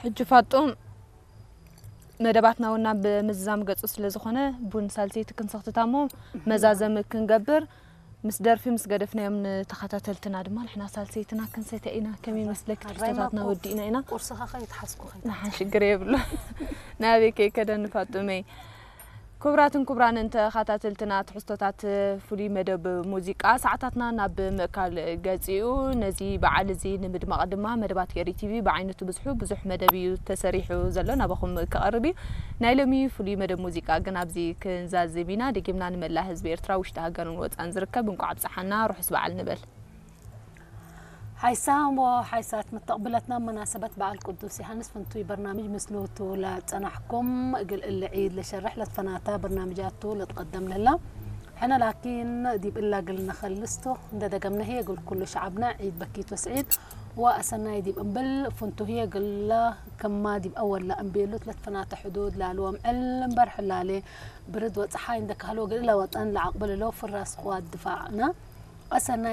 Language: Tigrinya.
ሕጂ ፋጡም መደባትና ውና ብምዝዛም ገጹ ስለ ዝኾነ ቡን ሳልሰይቲ ክንሰኽትታ እሞ መዛዘሚ ክንገብር ምስ ደርፊ ምስ ገደፍናዮም ንተኸታተልትና ድማ ንሕና ሳልሰይትና ክንሰተ ኢና። ከመይ ይመስለኪ? ትሕዝቶታትና ወዲእና ኢና። ቁርስኻ ከይትሓስኩ ከይት ንሓን ሽግር የብሉ። ናበይ ከይከደ ንፋጡመይ። ክቡራትን ክቡራንን ተኸታተልትና ትሕዝቶታት ፍሉይ መደብ ሙዚቃ ሰዓታትና ናብ ምእካል ገጺኡ። ነዚ በዓል እዚ ንምድማቕ ድማ መደባት ገሪ ቲቪ ብዓይነቱ ብዙሑ ብዙሕ መደብ እዩ ተሰሪሑ ዘሎ ናባኹም ክቐርብ እዩ። ናይ ሎሚ ፍሉይ መደብ ሙዚቃ ግን ኣብዚ ክንዛዝም ኢና። ደጊምና ንመላእ ህዝቢ ኤርትራ ውሽጢ ሃገርን ወጻን ዝርከብ እንቋዕ ኣብጽሓና ርሑስ በዓል ንበል። ሓይሳም ወሓይሳት መተቕብለትና መናሰበት በዓል ቅዱስ ዮሃንስ ፍንቱይ በርናምጅ ምስሉ ትውላ ጸናሕኩም እግል እሊ ዒድ ለሸርሕ ለትፈናታ በርናምጃቱ ለትቐደም ለላ። ሕነ ላኪን ዲብ እላ ግል ነኸልስቶ እንደ ደገምነ ህየ ግል ኩሉ ሸዓብና ዒድ በኪት ወስዒድ ወአሰናይ ዲብ እምብል ፍንቱ ህየ ግላ ከማ ዲብ አወላ እምቤሉት ለትፈናተ ሕዱድ ላልዎም ዕል እምበር ሕላሌ ብርድ ወጸሓይ እንደ ካህሎ ግል ለወጠን ለዓቅብል ሎ ፍራስ ቅዋት ድፋዕና አሰናይ